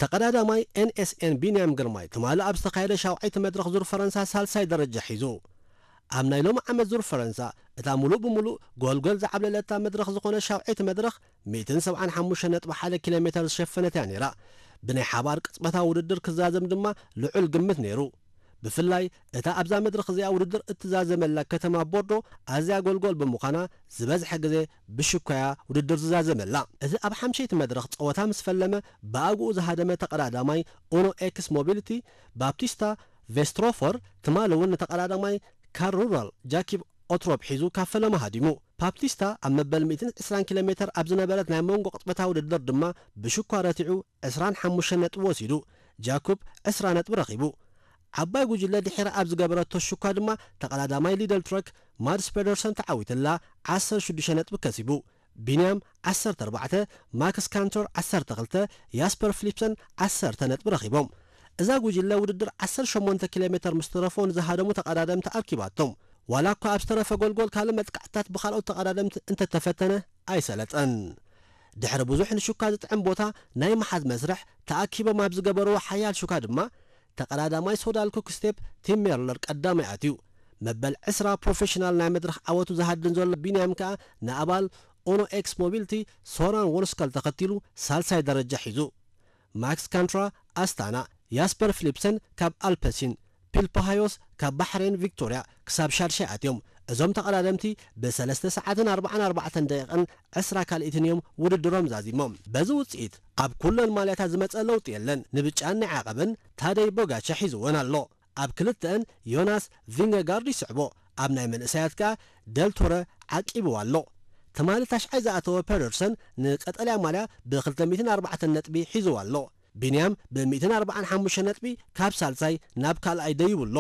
ተቐዳዳማይ ኤንኤስኤን ቢንያም ግርማይ ትማሊ ኣብ ዝተኻየደ ሻውዓይቲ መድረኽ ዙር ፈረንሳ ሳልሳይ ደረጃ ሒዙ። ኣብ ናይ ሎሚ ዓመት ዙር ፈረንሳ እታ ሙሉእ ብሙሉእ ጎልጎል ዝዓብለለታ መድረኽ ዝኾነ ሻውዓይቲ መድረኽ ሚእትን ሰብዓን ሓሙሽተ ነጥቢ ሓደ ኪሎ ሜተር ዝሸፈነት እያ ነይራ። ብናይ ሓባር ቅጽበታዊ ውድድር ክዛዘም ድማ ልዑል ግምት ነይሩ። ብፍላይ እታ ኣብዛ መድረኽ እዚኣ ውድድር እትዛዘመላ ከተማ ቦርዶ ኣዝያ ጎልጎል ብምዃና ዝበዝሐ ግዜ ብሽኳያ ውድድር ዝዛዘመላ። እዚ ኣብ ሓምሸይቲ መድረኽ ጸወታ ምስ ፈለመ ብኣግኡ ዝሃደመ ተቐዳዳማይ ኡኖ ኤክስ ሞቢሊቲ ባፕቲስታ ቬስትሮፈር ትማሊ እውን ንተቐዳዳማይ ካር ሩራል ጃኪብ ኦትሮፕ ሒዙ ካብ ፈለማ ሃዲሙ። ባፕቲስታ ኣብ መበል ሚእትን ዕስራን ኪሎ ሜተር ኣብ ዝነበረት ናይ መንጎ ቅጽበታዊ ውድድር ድማ ብሽኳ ረቲዑ ዕስራን ሓሙሽተን ነጥቢ ወሲዱ። ጃኩብ ዕስራ ነጥቢ ረኺቡ። ዓባይ ጉጅለ ድሒራ ኣብ ዝገበረቶ ሽኳ ድማ ተቐዳዳማይ ሊደል ትረክ ማድስ ፔደርሰን ተዓዊትላ ዓሰርተ ሽዱሽተ ነጥቢ ከሲቡ። ቢንያም ዓሰርተ ኣርባዕተ፣ ማክስ ካንተር ዓሰርተ ክልተ፣ ያስፐር ፊሊፕሰን ዓሰርተ ነጥቢ ረኺቦም። እዛ ጉጅለ ውድድር ዓሰርተ ሸሞንተ ኪሎ ሜተር ምስ ተረፎ ንዝሃደሙ ተቐዳደምቲ ኣርኪባቶም። ዋላ እኳ ኣብ ዝተረፈ ጎልጎል ካልእ መጥቃዕትታት ብኻልኦት ተቐዳደምቲ እንተተፈተነ ኣይሰለጠን። ድሕሪ ብዙሕ ንሹካ ዝጥዕም ቦታ ናይ ምሓዝ መስርሕ ተኣኪቦም ኣብ ዝገበርዎ ሓያል ሹካ ድማ ተቐዳዳማይ ሶዳል ኩክስቴፕ ቲም ሜርለር ቀዳማይ ኣትዩ። መበል ዕስራ ፕሮፌሽናል ናይ መድረኽ ዓወቱ ዝሃድን ዘሎ ቢንያም ከኣ ንኣባል ኦኖ ኤክስ ሞቢልቲ ሶራን ወንስከል ተኸቲሉ ሳልሳይ ደረጃ ሒዙ። ማክስ ካንትራ ኣስታና፣ ያስፐር ፊሊፕሰን ካብ ኣልፐሲን፣ ፒልፓሃዮስ ካብ ባሕሬን ቪክቶርያ ክሳብ ሻድሻይ ኣትዮም። እዞም ተቐዳደምቲ ብሰለስተ ሰዓትን ኣርባዓን ኣርባዕተን ደቂቕን ዕስራ ካልኢትን እዮም ውድድሮም ዛዚሞም። በዚ ውጽኢት ኣብ ኩለን ማልያታት ዝመጸ ለውጢ የለን። ንብጫን ናይ ዓቐብን ታደይ ቦጋቻ ሒዝወን ኣሎ። ኣብ ክልተአን ዮናስ ቪንገጋርድ ይስዕቦ። ኣብ ናይ መንእሰያት ከኣ ደልቶረ ዓቂብዋ ኣሎ። ትማሊ ታሽዓይ ዝኣተወ ፔደርሰን ንቀጠልያ ማልያ ብ ክልተ ሚእትን ኣርባዕተን ነጥቢ ሒዝዋ ኣሎ። ቢንያም ብ ሚእትን ኣርባዓን ሓሙሽተ ነጥቢ ካብ ሳልሳይ ናብ ካልኣይ ደይቡ ኣሎ።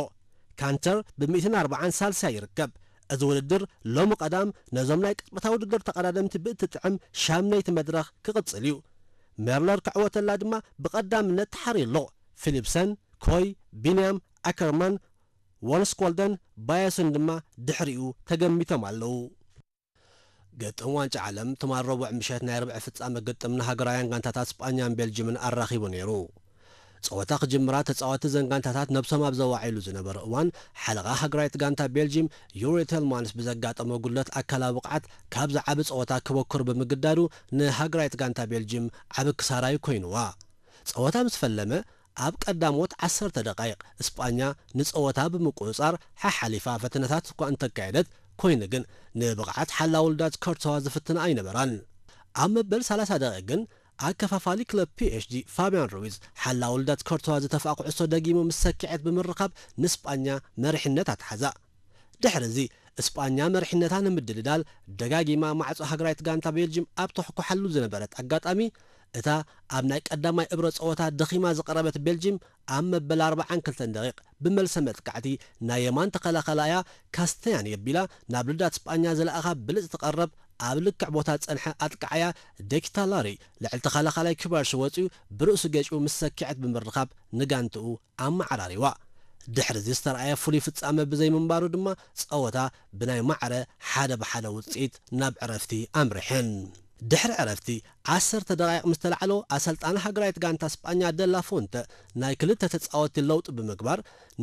ካንተር ብ ሚእትን ኣርባዓን ሳልሳይ ይርከብ። እዚ ውድድር ሎሚ ቀዳም ነዞም ናይ ቅጽበታዊ ውድድር ተቐዳደምቲ ብእትጥዕም ሻምነይቲ መድረኽ ክቕጽል እዩ። ሜርለር ክዕወተላ ድማ ብቐዳምነት ተሓርዩ ኣሎ። ፊሊፕሰን፣ ኮይ፣ ቢንያም፣ ኣከርማን፣ ወንስኮልደን፣ ባየስን ድማ ድሕሪኡ ተገሚቶም ኣለዉ። ግጥም ዋንጫ ዓለም ትማል ረቡዕ ምሸት ናይ ርብዒ ፍጻመ ግጥም ንሃገራውያን ጋንታታት ስጳኛን ቤልጅምን ኣራኺቡ ነይሩ። ጸወታ ክጅምራ ተጻወትቲ ዘን ጋንታታት ነብሶም ኣብ ዘዋዓይሉ ዝነበረ እዋን፣ ሓለቓ ሃገራዊት ጋንታ ቤልጅም ዩሪ ቴልማንስ ብዘጋጠሞ ጉድለት ኣካላዊ ብቕዓት ካብ ዝዓቢ ጸወታ ክበኩር ብምግዳዱ ንሃገራዊት ጋንታ ቤልጅም ዓቢ ክሳራ እዩ ኮይኑዋ። ጸወታ ምስ ፈለመ ኣብ ቀዳሞት ዓሰርተ ደቃይቕ እስጳኛ ንጸወታ ብምቁጽጻር ሓሓሊፋ ፈተነታት እኳ እንተካየደት፣ ኮይኑ ግን ንብቕዓት ሓላው ልዳት ከርተዋ ዝፍትና ኣይነበራን። ኣብ መበል ሰላሳ ደቂቕ ግን ኣከፋፋሊ ክለብ ፒኤስጂ ፋብያን ሩዊዝ ሓላው ልዳት ከርተዋ ዝተፍኣ ኩዕሶ ደጊሙ ምስ ሰኪዐት ብምርኻብ ንስጳኛ መሪሕነት ኣትሓዛ። ድሕሪ እዚ እስጳኛ መሪሕነታ ንምድልዳል ደጋጊማ ማዕጾ ሃገራዊት ጋንታ ቤልጅም ኣብ ተሕኩሓሉ ዝነበረት ኣጋጣሚ፣ እታ ኣብ ናይ ቀዳማይ እብረ ጸወታ ደኺማ ዝቐረበት ቤልጅም ኣብ መበል ኣርባዓን ክልተን ደቂቕ ብመልሰ መጥቃዕቲ ናይ የማን ተኸላኸላያ ካስተያን የቢላ ናብ ልዳት ስጳኛ ዝለኣኻ ብልጽቲ ቀረብ ኣብ ልክዕ ቦታ ዝጸንሐ ኣጥቃዓያ ዴኪታላሪ ልዕሊ ተኸላኸላይ ክባርሽ ወጺኡ ብርእሱ ገጭኡ ምስ ሰኪዐት ብምርኻብ ንጋንትኡ ኣመዓራሪዋ። ድሕሪ እዚ ዝተረኣየ ፍሉይ ፍጻመ ብዘይምንባሩ ድማ ጸወታ ብናይ ማዕረ ሓደ ብሓደ ውጽኢት ናብ ዕረፍቲ ኣምሪሐን። ድሕሪ ዕረፍቲ ዓሰርተ ደቓይቕ ምስ ተላዕሎ ኣሰልጣኒ ሃገራዊት ጋንታ ስጳኛ ደላ ፎንተ ናይ ክልተ ተጻወትቲ ለውጢ ብምግባር